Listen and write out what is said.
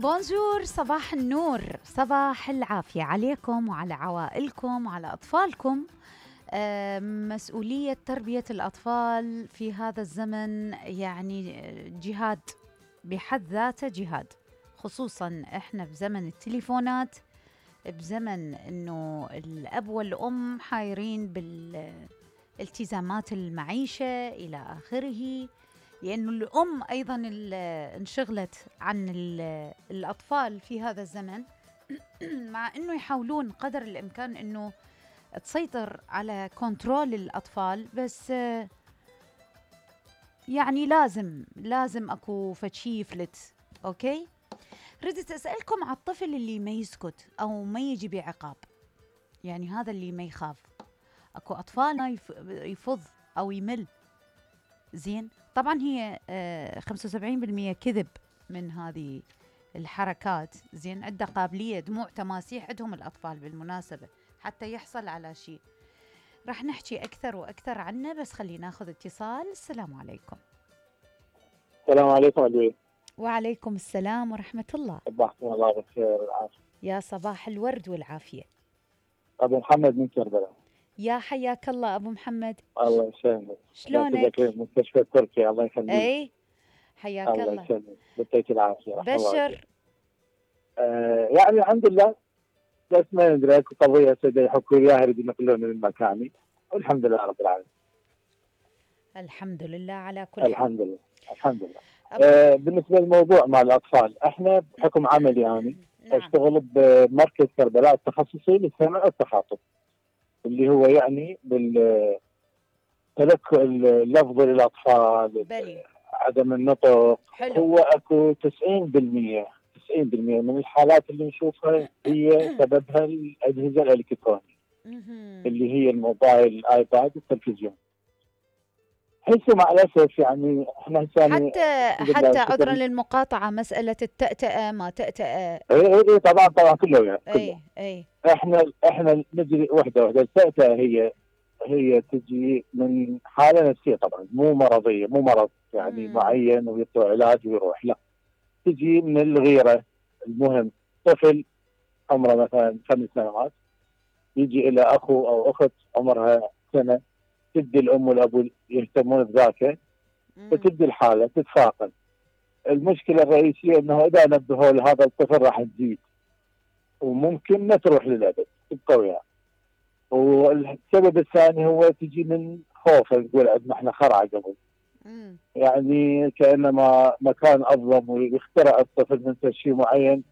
بونجور، صباح النور، صباح العافية عليكم وعلى عوائلكم وعلى أطفالكم. مسؤولية تربية الأطفال في هذا الزمن يعني جهاد بحد ذاته، جهاد، خصوصا احنا بزمن التليفونات، بزمن انه الأب والأم حايرين بالالتزامات المعيشة إلى آخره، لأنه الأم أيضا انشغلت عن الأطفال في هذا الزمن مع أنه يحاولون قدر الإمكان أنه تسيطر على كنترول الأطفال، بس يعني لازم أكو فشي يفلت. أوكي، ردت أسألكم على الطفل اللي ما يسكت أو ما يجي بعقاب، يعني هذا اللي ما يخاف. أكو أطفال ما يفض أو يمل. زين، طبعا هي 75% كذب من هذه الحركات. زين، عنده قابلية دموع تماسيح عندهم الأطفال بالمناسبة حتى يحصل على شيء. راح نحكي أكثر وأكثر عنه، بس خلينا ناخذ اتصال. السلام عليكم. السلام عليكم أدوية. وعليكم السلام ورحمة الله. صباحكم الله بالخير والعافية. يا صباح الورد والعافية. أبو محمد من كربلاء. يا حياك الله أبو محمد. الله يسلمك. شلونك؟ مستشفى تركيا، الله يخليك. أي حياك الله. الله يسلمك، يعطيك العافية. بشر. يعني الحمد لله، بس ما ندري اكو قضية سيدي يحكوا اياها يريد ينقلوني من مكاني، والحمد لله رب العالمين. الحمد لله على كل حال. الحمد لله الحمد لله. بالنسبة للموضوع مع الأطفال، احنا بحكم عملي يعني اشتغل بمركز كربلاء التخصصي للسمع والتخاطب، اللي هو يعني بالتلقي اللفظ للأطفال، عدم النطق. حلو. هو اكو 90% من الحالات اللي نشوفها هي سببها الأجهزة الإلكترونية اللي هي الموبايل، الآيباد، التلفزيون. حيث مع الأسف يعني احنا حتى عذرا للمقاطعة، مسألة التأتأة ما تأتأة. اي طبعا كله يعني اي احنا نجري وحده. التأتأة هي تجي من حالة نفسية طبعا، مو مرضية، مو مرض يعني معين ويطلع علاج ويروح، لا، تجي من الغيرة. المهم طفل عمره مثلا 5 سنوات يجي إلى أخو أو أخت عمرها سنة، تبدي الأم والأبو يهتمون بذاك، فتبدي الحالة تتفاقم. المشكلة الرئيسية أنه إذا نبهوا لهذا الطفل راح تزيد وممكن ما تروح للأبد، تبقى وياه. والسبب الثاني هو تجي من خوفه، تقول عندنا احنا خرعة قبل، يعني كأنما مكان أظلم ويخترع الطفل من شيء معين